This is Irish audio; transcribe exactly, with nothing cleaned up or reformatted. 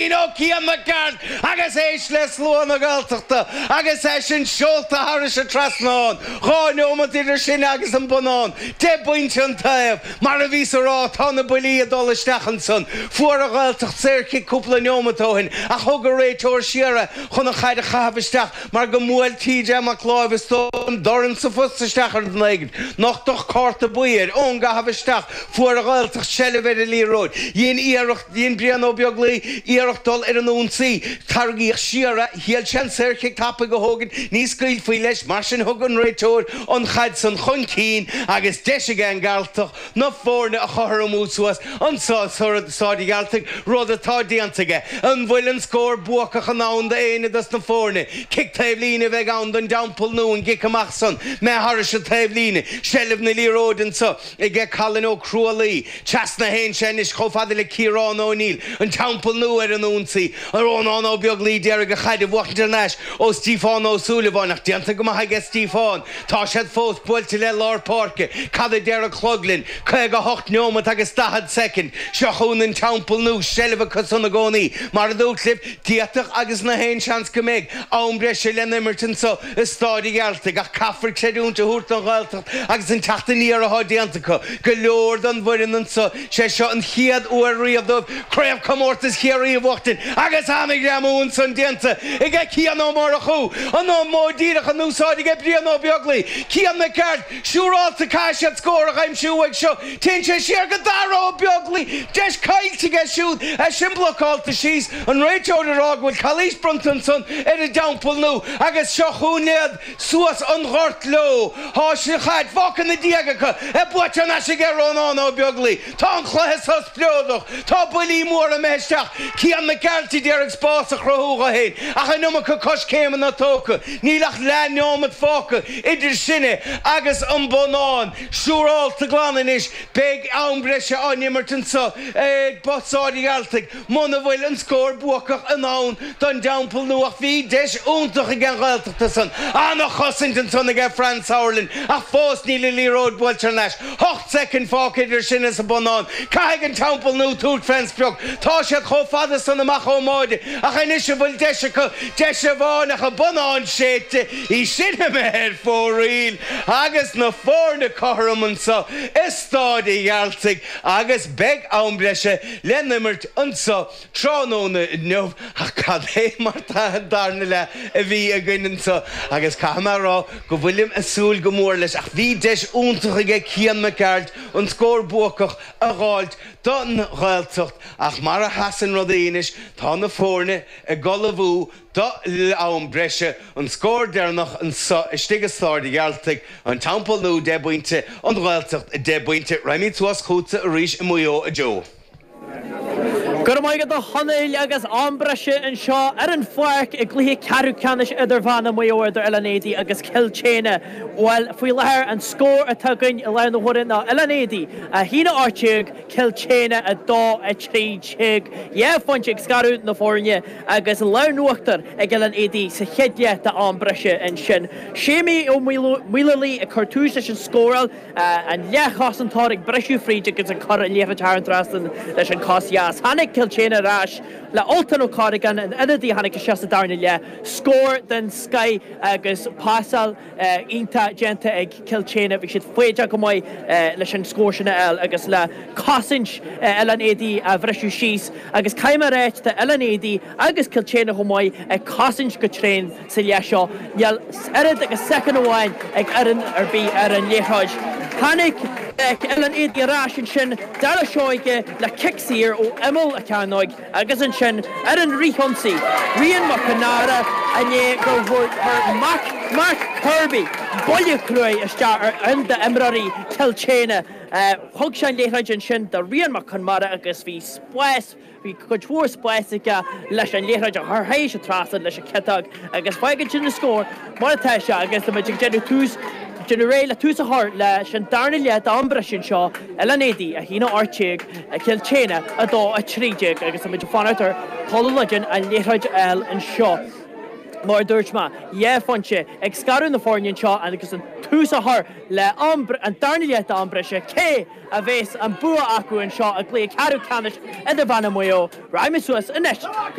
Ó Cian Mac Gearailt agus éist le slua na Gaeltachta agus é sin seolta thairis an trasnán. Dhá neomat idir sin agus an bonnán. Deich bpointe an taobh. Mar a bhíos a rá, tá na buillí ag dul isteach ansan. Fuair an Ghaeltacht saorchic cúpla neomat ó shin ach thug an réiteoir siar é chun an chaid a chaitheamh isteach mar go mbuail TJ Mac Láimh is dóigh liom dorn sa phost isteach ar an éigin. Nochtadh cárta buí air ón gcaitheamh isteach. Fuair an Ghaeltacht seilbh ar an liathróid. Dhein iarracht, dhein Brian Ó Beaglaoi iarracht dul ar an ionsaí. Tarraingíodh siar é. Shíl sé an saorchic tapaidh a thógaint, ní scaoilfí leis, mar sin thug an réiteoir an chaid san chun cinn agus deis ag an nGalltach na foirne a chothromú suas anso i Staid an Ghearaltaigh, rud atá déanta aige. An bhfuil an scór buacach in ann d'éinne dos na foirne? Cic taobh líne a bheidh ann don dTeampall Nua, an gcic amach san, imithe thairis an taobh líne. Seilbh na liathróide anso aige Colin Ó Crualaoi. Trasna a théann sé anois chomh fada le Ciarán O'Neill, an Teampall Nua ar an ionsaí. Rónán Ó Beaglaoi d'iarraidh an chaid a bhuachaint thar n-ais ó Stiofán Ó Súilleabháin ach déanta go maith aige Stiofán. Tá siad fós buailte le lár páirce. Cad a deir an clog linn? caoga a hocht neomat agus daichead soicind. Seo chugainn an Teampall Nua, seilbh acu san i gcónaí. Mar a dúirt libh, d'fhéadfadh agus nach aon seans go mbeidh am breise le n-imirt anso i Stáid an Ghearaltaigh ach caithfear creidiúint a thabhairt don Ghaeltacht agus an teacht aniar atá déanta acu. Go leor den bhfoireann anso, sé seo an chéad uair riamh dóibh Craobhchomórtas Chiarraí a bhuachtaint agus an-ghreamú ansan déanta aige Cian Ó Murchú, an modh díreach in úsáid aige Brian Ó Beaglaoi, Cian Mac Gearailt, siúrálta caithfidh siad scór a aimsiú uaidh seo, téann sé siar go Dara Ó Beaglaoi, deis caillte aige siúd, é sin blocálta síos, an réiteoir ag rá go bhfuil calaois bronnta ansan ar an dTeampall Nua agus seo chugainn iad suas an gort leo. Tá an chaid fágtha ina diaidh acu, é buaite thar n-ais aige Rónán Ó Beaglaoi. Tá an cluiche seo spleodrach. Tá buillí móra imithe isteach. Cian Mac Gearailt a d'iarraidh spás a chruthú dho fhéin ach an iomarca coiscéimeanna tógtha. Níl ach leath neomat fágtha idir sinne agus an bonnán. Siúrálta glan anois. Beidh am breise á n-imirt anseo ag Staid an Ghearaltaigh muna bhfuil an scór buacach in ann don dTeampall Nua ach bhí deis iontach ag an Ghaeltacht ansan. Ana-chosaint ansan aige Fran Sauerland ach fós níl an liathróid buailte thar n-ais. Ocht soicind fágtha idir sin is an bonnán. Caithfidh an Teampall Nua tabhairt fén sprioc. Tá siad chomh fada san amach ón mbáide ach anois an bhfuil deis acu? Deis amháin ach an bonnán séidte, í sin imithe ar fóraoil agus na foirne cothrom anso i Stáid an Ghearaltaigh agus beidh am breise le n-imirt anso tráthnóna inniu. Ach cad é mar an darna leath a bhí againn anso agus caithfidh mé a rá go bhfuilim ag súil go mór leis ach bhí deis iontach aige Cian Mac Gearailt an scór buacach a dh'fháilt don Ghaeltacht ach mar a sheasann rudaí anois tá na foirne ag ullmhú do am breise. An scór deireanach anso istigh i Stáid an Ghearaltaigh, An Teampall Nua deich bpointe, An Ghaeltacht deich bpointe. Raghaimid suas chugatsa arís i Maigh Eo, a Joe. Go raibh maith agat a Chonaill agus am breise anseo ar an pháirc i gcluiche ceathrú ceannais idirmheánach Mhaigh Eo idir Oileán Éadaí agus Cill tSéadhna. Bhuel, faoi láthair an scór atá againn i láthair na huaire ná Oileán Éadaí a haon a hocht déag, Cill tSéadhna a dó a trí déag. Dhá phointe ag scaradh na foirne agus an lámh in uachtar ag Oileán Éadaí sa chéad leath d'am breise ansin. Séimí Ó Maolalaí ag cur tús leis an scóráil. An leathchosantóir ag briseadh fríd agus ag cur an liathróid thar an trasnán leis an cos dheas. Tháinig Cill tSéadhna ar ais le Ultan Ó Corragáin, an ionadaí a tháinig isteach sa darna leath. Scór den scoith agus pasáil iontach déanta ag Cill tSéadhna. Bhí siad foighdeach go maith leis an scór sin a fháil agus le cosaint Oileán Éadaí a bhriseadh síos. Agus caithfidh mé a ráit, tá Oileán Éadaí agus Cill tSéadhna chomh maith ag cosaint go tréan. Sa leath seo, níl oiread agus soicind amháin ag fhoireann ar bith ar an liathróid. Tháinig Oileán Éadaí ar ais ansin, Darragh Seoige le cic saor ó imeall an chearnóig agus ansin ar an fhrithionsaí, Rian Mac Conmara i ndiaidh gur chuir Mark Kirby buille cruaidh isteach ar cheann d'imreoirí Chill tSéadhna. Thug sé an liathróid ansin do Rian Mac Conmara agus bhí spás. Bhí cuid mhór spáis aige leis an liathróid a chur théis an trasnán leis an chiotóg agus fágann sin an scór mar atá sé agus tá muid ag déanamh tús, déanamh réidh le tús a chur leis an darna leath d'am breise anseo, Oileán Éadaí a haon a hocht déag, Cill tSéadhna a dó a trí déag agus tá muid ag fanacht ar Pól Ó Loideáin an liathróid a fháil anseo. Mar a dúirt mé, dhá phointe ag scaradh na foirne anseo agus an tús a chur le an darna leath d'am breise cé a bheas an bua acu anseo i gcluiche ceathrú ceannais Idirmheánach Mhaigh Eo, Raghaimid suas anois.